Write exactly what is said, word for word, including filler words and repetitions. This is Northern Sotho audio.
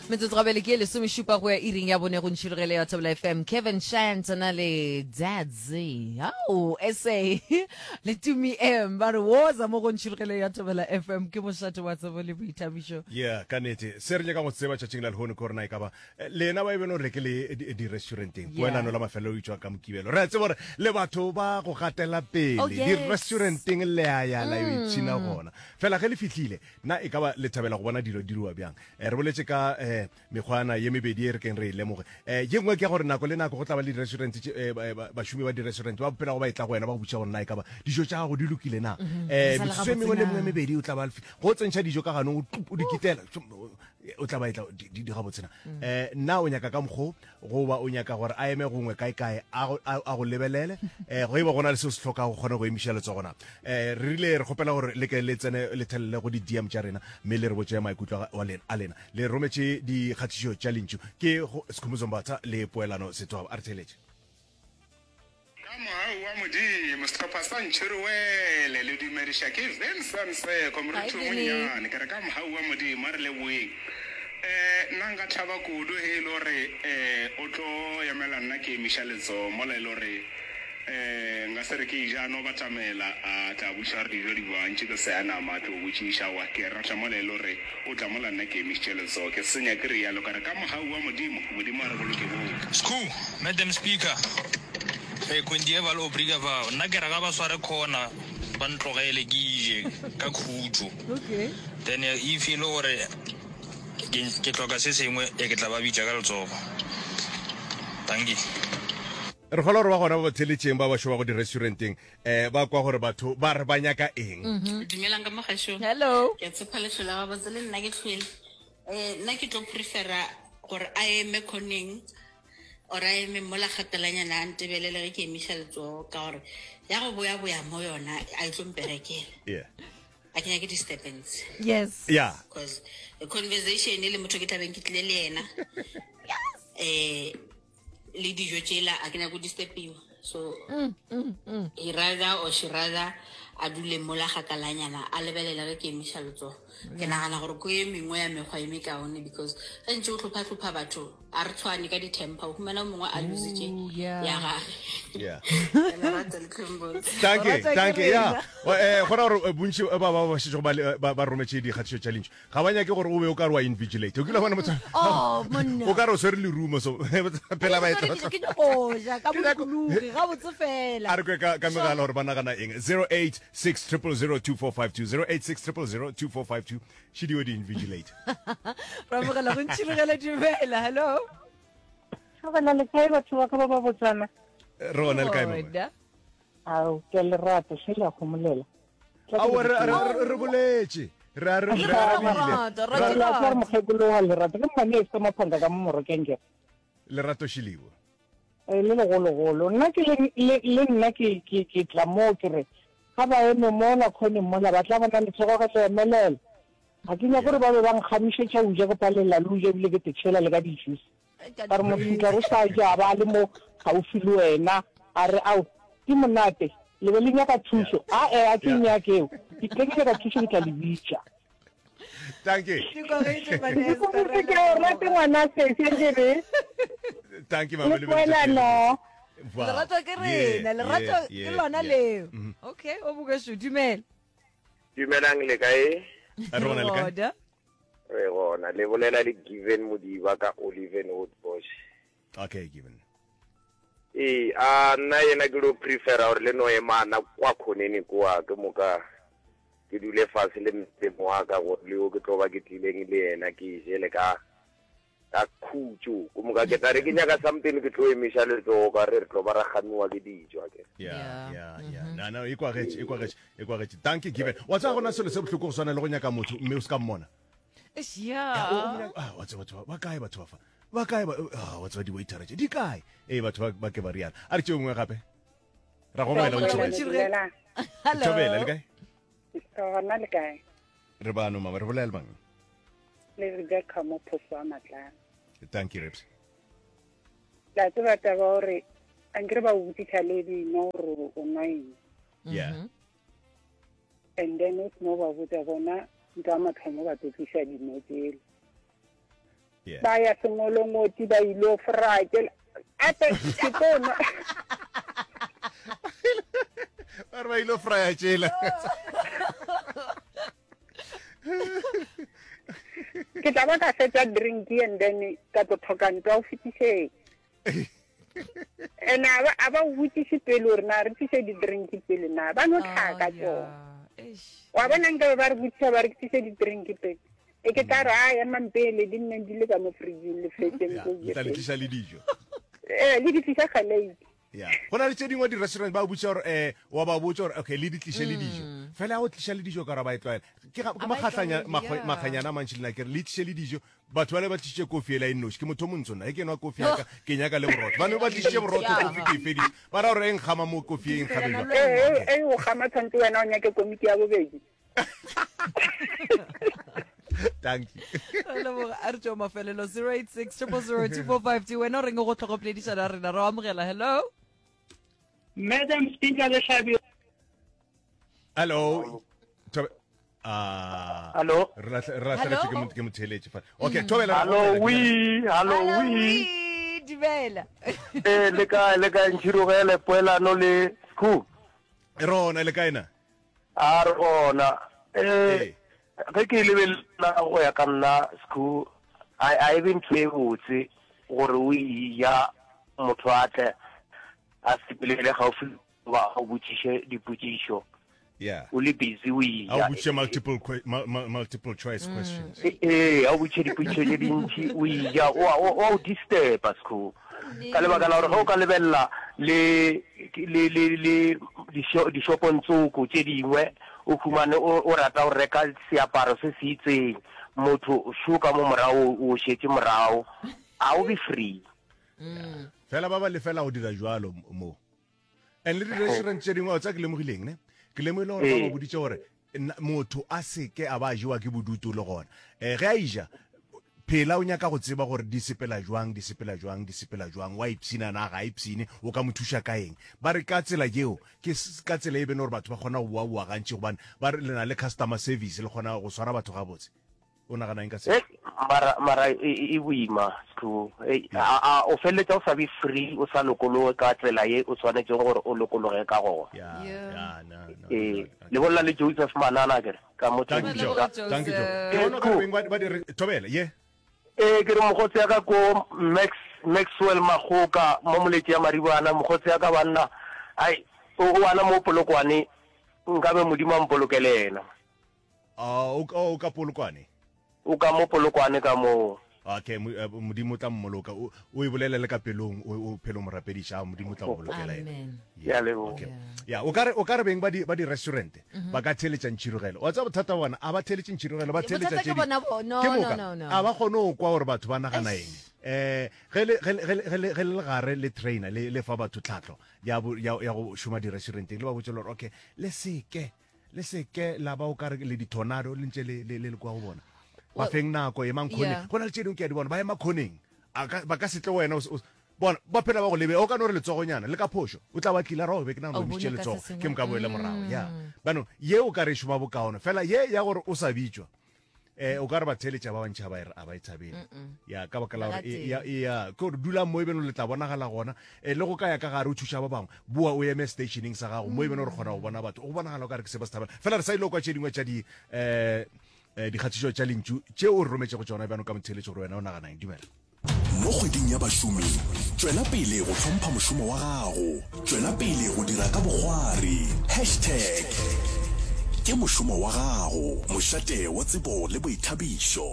Metsotso gabele ke e lesomešupa go ya iring ya bone go ntšhirogele ya Thobela F M. Kevin Shant na le Dadzi. Ao, S A le Tumi M ba re woza mo go ntšhirogele ya Thobela F M ke mošate wa tsebo le boithabišo. Yeah, ka nete. Se re nyaka go tseba tšatšing la lehono ke gore na e ka ba eh, lena ba e beno re ke le di- di-restauranteng. Yeah. Poelano la mafelelo e tšwa ka Mokibelo. Re a tseba gore le batho ba go gatela pele. Oh, yes. Di-restauranteng le a ya la yo ipshina gona. Fela ge le fihlile, na e ka ba le thabela go bona dilo di diriwa bjang? Eh, re boletše ka eh, mekgwana ye mebedi e re keng re e lemoge. Eh, ye nngwe ke ya gore nako le nako go tla ba le di-restaurant tše, eh, ba, ba, bašomi ba di-restaurant ba phela go ba e tla go wena ba go botša gore na e ka ba dijo tša gago di lokile na. Mhm. Eh, Di sa le metsotso e gabotse mengwe le na? mengwe e mebedi o tla ba go tsentšha dijo ka ganong, o tlup, o di kitela, o tla ba e tla di, di, di gabotse na. Mm. Eh, na o nyaka ka mokgo goba o nyaka gore a eme gongwe kae kae a go, a, a go lebelele, eh, go e ba gona le seo se hlokago go kgone go emiša letsogo na. Eh, re rile re kgopela gore le ke le tsene le thelele go di D M tša rena mme le re botše maikutlo a, wa lena, a lena. Le rometše dikgatišo tša lentšu ke go Sekhumbuzo Mbatha le Poelano Setwaba. A re theeletše. Ka mogau wa Modimo, sehlopha sa Ntšhiriwele le dumediša ke Vincent Seko, moruti Hi, o Vinny. monnyane. Ke re ka mogau wa Modimo, a re leboeng. Eh, nna nka thaba kudu ge e le gore eh, o tlo emela nna ke emiša letsogo mola e le gore eh, nka se re ke ja, a no batamela a tla botšiša gore dijo di bjang, tše ke seya nama, a tlo botšiša. Aowa, ke rata mola e le gore o tla mola nna ke emišitše letsogo. Ke senya ke realo, ka re ka mogau wa Modimo, Modimo a re boloke bohle. Skhoo, Madam Speaker, eh, Quindieval Obriga fao. Nna ke re ga ba sware corner, ba ntlogele ke ije ka khutšo. Okay. Then if e le gore ke, ke hloka se sengwe, e ke tla ba bitša ka letsogo. Dankie. Re kgolwa gore ba gona ba ba theletšeng ba ba šomago di-restauranteng, eh, ba kwa gore batho ba re ba nyaka eng. Mm-hmm. Dumelang ka mo gešo. Hello. Ke a tshepa le hlola gabotse le nna ke hlwele. Eh, nna ke tlo prefera gore a eme khoneng or a eme mola kgatelanyana a ntebelele ge ke emiša letsogo, ka gore ya go boya-boya mo yona a e tlo mperekela. Yeah. A ke nyake disturbance. Yes. Yeah. Because the conversation le motho ke tlabeng ke tlile le yena. Yes. Eh, le dijo tšela a ke nyake go disturbiwa. So, Mm, mm, mm. he rather or she rather a dule mola kgakalanyana a lebelele ge ke emiša letsogo. Ke nagana gore ko e mengwe ya mekgwa e mekaone, because ge ntse o hlopha-hlopha batho a re tshwane ka di-temper, o humana o mongwe a lositše Ooh, yeah. ya gage. Yeah. Lerato le tlhombotse. Thank you, Lerato ke thank you. Yeah. rena. Wa, eh, go ra gore, eh, bontši ba ba ba šetšego ba le, eh, ba, ba rometše dikgatišo tša lentšu ga ba nyake gore o be o ka re wa invigilate. O kile wa bona motho Oh, monna. o ka re o swere lerumo, so phela ba e Ke tlotla. ke nyako ja ka Ke nyako- bolokologi, gabotse fela. A re kwe ka, ka megala gore ba nagana eng. zero eight six triple zero two four five two, zero eight six triple zero two four five two. Šidio di invigilate. Ra amogela go ntšhirogela, dumela. Hello. Thobela le kae batho ba ka ba ba botsana? Re gona le kae, mama? Gona. Ao, ke a le rata, hle le a gomolela. Tla ke Aowa, le re, re, botse. re, re boletše. Re a re, Le re rata arabile. lerato, Ra- rata Re a tla re lerato. mokgekolo wa lerato. Ke mmane e se maphanga ka mo Morokeng ke. Lerato Šilibo. Eh, le legologolo. Nna ke le, le, le nna ke, ke, ke tla moo ke re, ga ba eme mola khoneng mola, ba tla bona letsogo ge le emelela. Ga ke nyake gore ba be ba nkgamišetša o ja ke palela le o ja ebile ke te tšhela le ka di-juice. Ka re motho tla re sa ja ba le mo gaufi le wena, a re ao, ke monate, le be le nyaka thušo. A e, a ke nyake eo. Ke tle ke nyaka thušo, ke tla le bitša. Thank you. Ke kwagetše, Vanessa, Ke re ke o rate ngwana sesi, ke re. Thank you, mama. Le poelano. Wow. Lerato ke rena, Yeah, lerato yeah, ke yeah, lona yeah. leo. Mm-hmm. Okay, o bokešo, dumela. Dumelang le kae? Re gona le kae? Gona. Re gona, le bolela le Given Modiba ka Oliven Woodbush. Okay, Given. Ee, a nna yena ke lo prefera gore le no emana kwa khoneni kwa ke moka ke dule fase le mpemo wa ka gore le yo ke tlo ba ke tlileng le yena ke jele ka ka khutšo. Ke moka ke tla re ke nyaka something ke tlo emiša letsogo ka re re tlo ba ra gamiwa ke dijo, akere. Yeah, Yeah. yeah, yeah. No, no, e kwagetše, e kwagetše, e kwagetše. Thank you, Given. Wa tseba gona selo se bohloko go swana le go nyaka motho mme o se ka mmona. Eish, Ya, o- o yeah. mo nyaka- ah, wa tseba batho ba, ba kae batho ba fa? Ba kae ba, ah, wa tseba di-waitera tše, di kae? Ee, batho ba, ba ke ba rialo. A re tšeo nngwe gape. Ra go amogela o ntšhirogele. Ntšhirogele. Hello. Thobela, le kae? Gona le kae? Re bano, mama, re bolela le mang? Le Rebecca mo Phoso wa Matlana. Thank you, Rebs. La tseba taba gore ankere ba o botšiša le dino gore o nwa eng. Yeah. Mm-hmm. And then o seno ba botša bona ntho ya mathomo ba tlo tliša dino tsele. Yeah. Ba ya sengolongoti ba ilo fraya ke ape ke tlo nwa Ba re ba ilo fraya tšela. Ke tla ba ka fetša drink and then ka tlo tlhoka ntwa o fetišeng. And a ba a ba o botšiše pele gore na re tliše di-drink pele na ba no tlhaka tsona. Wa bona nkabe ba re botšiša ba re ke tliše di-drink pele. E ke tla re a emang pele di nne di le ka mo fridging le fetšeng Ya, ko le tla le tliša le dijo. Eh, le di tliša ga late. Ya. Go na le tše dingwe di-restaurant ba botša gore eh wa ba botša gore okay le di tliše le dijo. Fela go tliša le dijo ka gore ba e tlwaela. Ke ga- ke A ba e makgahlanya tlwaele, makgwe- yeah. makganyana a mantši le nna ke re le tliše le dijo. Batho bale ba tlišitše kofi ela e nnoši. Ke motho o montsho nna. Ge ke nwa kofi ya ka ke nyaka le borotho. Ba ne ba tlišitše borotho Yeah. kofi ke e feditše. Ba ra gore e nkgama mo kofi e nkgame Wena jwang. le Eh, eh, eh, o gama tshwanetse wena o nyake komiki ya bobedi. Thank you. Re leboga a re tšeo mafelelo zero eight six triple zero two four five two wena o reng go tlhogo poledišano ya rena re o amogela hello Madam Speaker le Hlabi Hello. Thobe- Ah. Hello. Re lahle- re lahlegetšwe ke Hello? mo- ke motheeletši fa. Okay, Thobela. re Hello, amogela. oui, hello, Hello, oui. oui, dumela Eh, le kae, le kae, Ntšhirogele, Poelano le Skhoo? Rona le kae na? A re gona. Eh, Ee. ge ke lebelela go ya ka nna Skhoo, a a e be ntho e botse gore o eja motho a tle a sepelele gaufi goba a o botšiše dipotšišo Yeah. o le busy o A o eja. botšiše multiple que- mul- mul- multiple choice questions. Ee, a o botšiše dipotšišo tše dintši o eja o a- o o a o disturba Skhoo. Ka lebaka la gore ge o ka lebelela le le le le disho- dishopong tsoko tše dingwe o humane o o rata go reka seaparo se se itseng motho šo ka mo morago o šetše morago a o be free. Fela ba ba lefela go dira jwalo mo. And le di-restaurant tše dingwe tsa ke lemogileng ne. Ke lemogile gore ba ba Ee. boditše gore nna- motho a seke a ba a jewa ke bodutu le gona. Eh ge a ija phela o nyaka go tseba gore di sepela jwang, di sepela jwang, di sepela jwang, wa ipshina na ga a ipshine, o ka mo thuša ka eng. Ba re ka tsela yeo ke s- ka tsela e bene gore batho ba kgona go boa-boa gantši gobane ba re le na le customer service le kgona go swara batho gabotse. O nagana eng ka seo? Eh, mara mara e e- e boima Skhoo. Eh, a a o feleletša o sa be free o sa lokologe ka tsela ye o swanetšeng gore o lokologe ka gona. Ya, Yeah. ya, no, no, Ee, no, le bolela le Joseph Manana kere ka mo Thank you, Leboga, Joe. Tembisa. Thank you, Joe. Joseph. Ke bona o ka re beng ba ba di re Thobela, ye. Ee, ke re mokgotsi ya ka ko Max Maxwell Magoka mo moletši ya Maribana mokgotsi ya ka banna ai o o ana mo Polokwane nkabe Modimo a mpolokele yena. Ah, o ka o ka Polokwane. O ka mo Polokwane ka moo. Okay, mo- eh, Modimo o tla mmoloka. O o e bolele le ka pelong, o o phele o mo rapediša, ah, Modimo o tla go bolokela yena. amen Ke a leboga. Okay. Ya, o ka re o ka re beng ba di ba di restaurant ba ka theeletša Ntšhirogelo. Wa tseba bothata bona, a ba theeletše Ntšhirogelo, ba theeletša bothata tše ke di- bona bo no Ke no moka, no no a ba kgone go kwa gore batho ba nagana eng. Eh, ge le ge le ge le ge le ge le le gare le trainer le le fa batho tlhahlo ya bo- ya ya go šoma di-restauranteng le ba botse le gore okay le seke le seke la ba o ka re le di-tornado le ntše le le le le kwa go bona ba Well, feng nako emang khoneng yeah. go na le tše dingwe ke a di bona ba ema khoneng A ka- ba ka se tle wena o se- o se- bona ba phela ba go lebe o ka no re letsogonyana le ka phošo o tla ba tlile ra o be ke nagana O o emisitše bone ka se letsogo sengwe. ke moka boele morago ya bano ye o ka re e šoma bokaone fela ye ya gore o sa bitšwa eh o ka re ba theeletša ba bantši a ba e- a ba e thabele ya ka baka la gore Ba e- ya ya ke gore dulang mo e beno le tla bonagala gona eh, le go ka ya ka gare o thuša ba bangwe boa o eme stationeng sa gago mo e beno re kgona go bona batho go bonagala o ka re ke se ba se thabela fela re sa ile kwa tše dingwe tša di eh eh, dikgatišo tša lentšu tše o re rometšego tšona bjano ka motheeletši gore wena o nagana eng dumela Mo kgweding ya bašomi, tšwela pele go hlompha mošomo wa gago. Tšwela pele go dira ka bokgwari. Hashtag ke mošomo wa gago. Mošate wa tsebo le boithabišo.